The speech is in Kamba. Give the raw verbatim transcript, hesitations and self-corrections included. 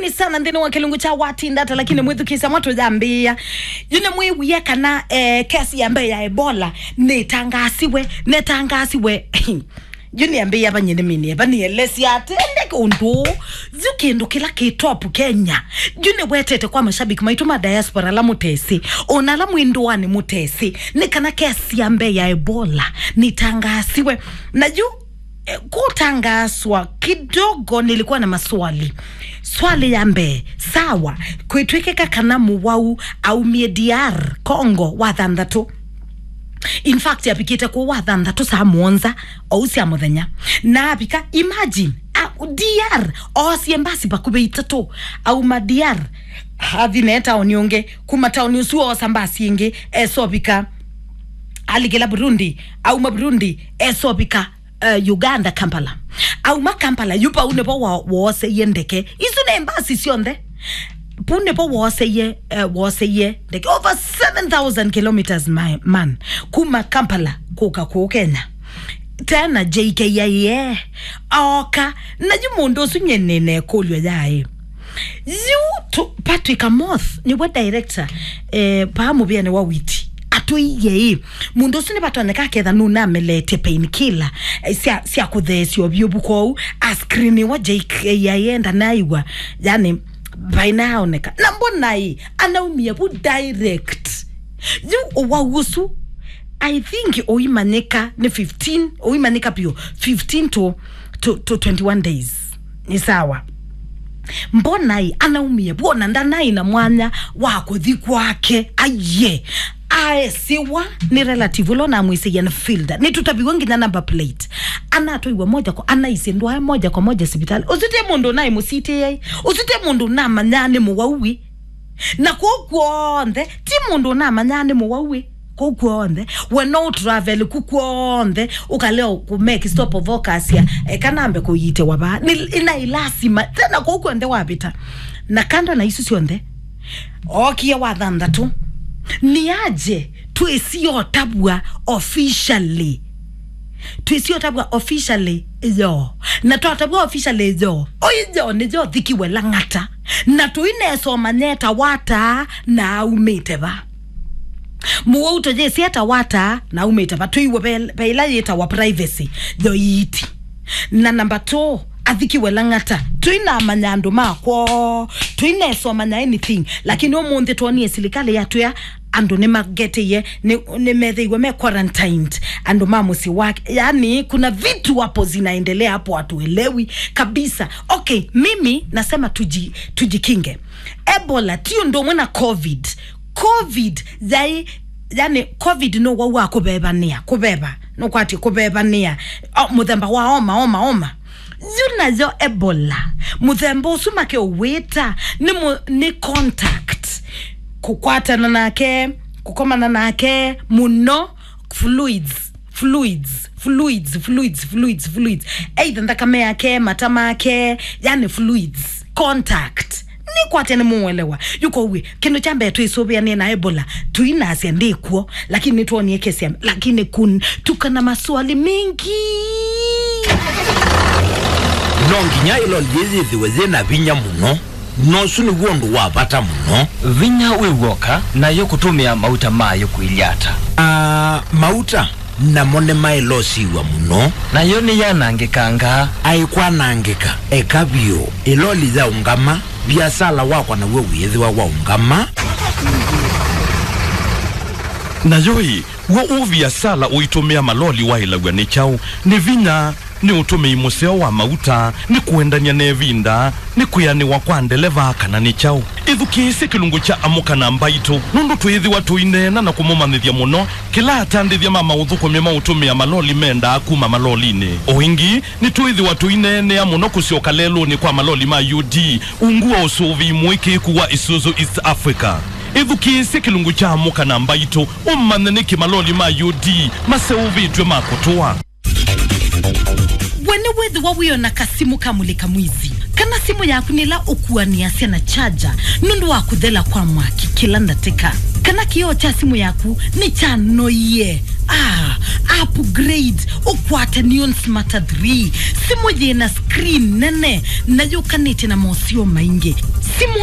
Ni sana nthĩnĩ wa kĩlungu kya Watinda Ata, lakini mwĩthukĩĩsya mwa tũyambĩĩa. Yu nĩmwĩwie kana, eh, kesi ya mbee ya Ebola nĩtangaasiwe, nĩtangaasiwe. Yu nĩambĩĩa vanyiniminie, vanielesya atĩ ndeke ũndũ ũũ. Yu kĩndũ kĩla kĩ top Kenya. Yu nĩwetete kwa mashabiki maitũ ma diaspora ala mũtesĩ, ona ala mwĩ ndũanĩ mũtesĩ, nĩ kana kesi ya mbee ya Ebola nĩtangaasiwe. Na yu eh, kutangaswa kidogo, nilikuwa na maswali. Swali ya mbee, sawa, kwĩtwĩkĩka kana mũwau aumie D R Congo wa thanthatũ. In fact, avikĩte kũu wa thanthatũ saa mũonza ou sya mũthenya. Na avika, imagine, a, D R, oosie mbasi vakuvĩ itatũ, auma D R, athi naĩ taoni ũngĩ, kuma taoni ũsu oosa mbasi ĩngĩ, esovika, alikĩla Burundi, auma Burundi, esovika uh, Uganda, Kampala. Auma Kampala, yu vau nĩvo wa-, wooseie ndeke. Isu nĩ mbasi syonthe. Vau nĩvo wooseie, uh, wooseie ndeke. Over seven thousand kilometers, my man. Kuma Kampala kũka kũu Kenya. Tena J K I A. Oka. Na yu mũndũ ũsu nyie nĩna ĩkũlyo yaĩ. Yu tu, Patrick Amoth, nĩwe director, eh, paa mũvĩanĩ wa witi. Atwĩie ĩ, mũndũ ũsu nĩvatonyeka aketha nũnameletye painkiller, eh, sya, sya kũtheesya ũvyũvu kwoou, a screen wa J K I A ndanaiwa, yani, vainaoneka. Na mbona ĩ, anaumie vu direct. Yu ũwau ũsu, I think ũimanyĩka nĩ fifteen, ũimanyĩka vyũ, fifteen to, to, to twenty-one days. Nĩ sawa. Mbona ĩ, anaumie, wona ndanaĩ na mwanya wa kũthi kwake. Aiye. Aesiwa nĩ relative ũla ũnamwĩsĩie nĩ Filda. Nĩtũtaviwe nginya number plate. Anatwaiwa moja kwa, anaisye ndwae moja kwa moja sivitali. Ũsu ti mũndũ ũnaĩ mũsitĩei. Ũsu ti mũndũ ũnamanyaa nĩ mũwau ĩ. Na kũu kw'onthe, ti mũndũ ũnamanyaa nĩ mũwau ĩ. Kũu kw'onthe, we no ũtravel ku kw'onthe, ũkalea kũ make stop of okasya, eka nambe kũiitĩwa vaa. Nĩ, ĩna ilasima, tena kũu kw'onthe wavĩta. Na kando na isu syonthe, ookie wa thanthatũ. Nĩ aje twĩsiotavw'a officially. Twĩsiotavw'a officially yo. Na twatavw'a officially yo. Ũyũ yo nĩyo Thikiwe Lang'ata. Na tũinesoma nyeta wata na aumĩte va. Mũwau tũyĩsĩ etawa ata na aumĩte va, twĩiwe ve, ve ĩla yĩtawa privacy, yo iiti. Na namba two, Athikiwe Lang'ata, tũinamanya andũ ma kwoo, tũinesomanya anything, lakini ũmũnthĩ twonie silikalĩ yatwĩa andũ nĩmageteie, nĩ, nĩmethĩiwe me quarantined, andũ ma mũsyĩ wake. Yani, kuna vitu hapo zinaendelea hapo, hatuelewi kabisa. Okay, mimi nasema tuji-, tujikinge. Ebola ti ũndũ ũmwe na covid. Covid yaĩ, yani, covid nĩ ũwau wa kũvevanĩa, kũveva, nũkwatĩ kũvevanĩa, o, mũthemba wa oma, oma, oma. Yu nayo Ebola, mũthemba ũsu makeũwĩta nĩ mũ-, nĩ contact, kũkwatana nake, kũkomana nake mũno, fluids, fluids, fluids, fluids, fluids, fluids. Either nthakame yake, mata make, yani fluids, contact. Nĩkwatya nĩmũelewa. Yu kwoou, kĩndũ kya mbee twĩsũvĩanĩe na Ebola, tũinasya ndĩkw'o, lakini nĩtwonie kesi ya, lakini kun-, tukana maswali mengi. No nginya ĩloli yĩĩ yĩthĩwe yĩ na vinya mũno. Na ũsu nĩw'o ũndũ wa vata mũno. Vinya wĩ w'oka, nayo kũtũmĩa mauta mayo kũilye ata? Aa, mauta namo nĩmaĩlosiw'a mũno. Nayo nĩyanangĩkangaa. Aikwanangĩka, eka vyũ. Ĩloli yaũngama, viasala wakwa naw'o wĩĩthĩwa waũngama. Nayo ĩ, w'o ũviasala ũitũmĩa maloli waĩlaw'a nĩ kyaũ? Nĩ vinya? Nĩ ũtũmĩi mũseo wa mauta? Nĩ kũendany'a na ĩvinda? Nĩ kwĩanĩwa kwa ndeleva, kana nĩ kyaũ? Ĩthukĩĩsye kĩlungu kya Amũka na Mbaitũ, nũndũ twĩĩthĩwa tũineena na kũmũmanyĩthya mũno kĩla atandĩthya ma maũthũkũmi ma ũtũmĩa maloli mendaa kuma malolinĩ. O ĩngĩ, nĩtwĩĩthĩwa tũineenea mũno kũsyoka lelũnĩ kwa maloli ma U D ungu wa ũsũvĩi mũĩkĩĩku wa Isuzu East Africa. Ĩthukĩĩsye kĩlungu kya Amũka na Mbaitũ, ũmanye nĩkĩ maloli ma U D maseũvĩtw'e ma kũtũa. We nĩwĩthĩwa wĩona kasimũ ka mũlĩka mwizi, kana simũ yaku nĩ ĩla ũkuanĩasya na charger nũndũ wa kũthela kwa mwaki kĩla ndatĩka, kana kĩoo kya simũ yaku nĩkyanoie? Ah, upgrade, ũkwate Neon Smarter three. Simũ yĩna screen nene na yũkanĩte na mosio maingĩ. Simũ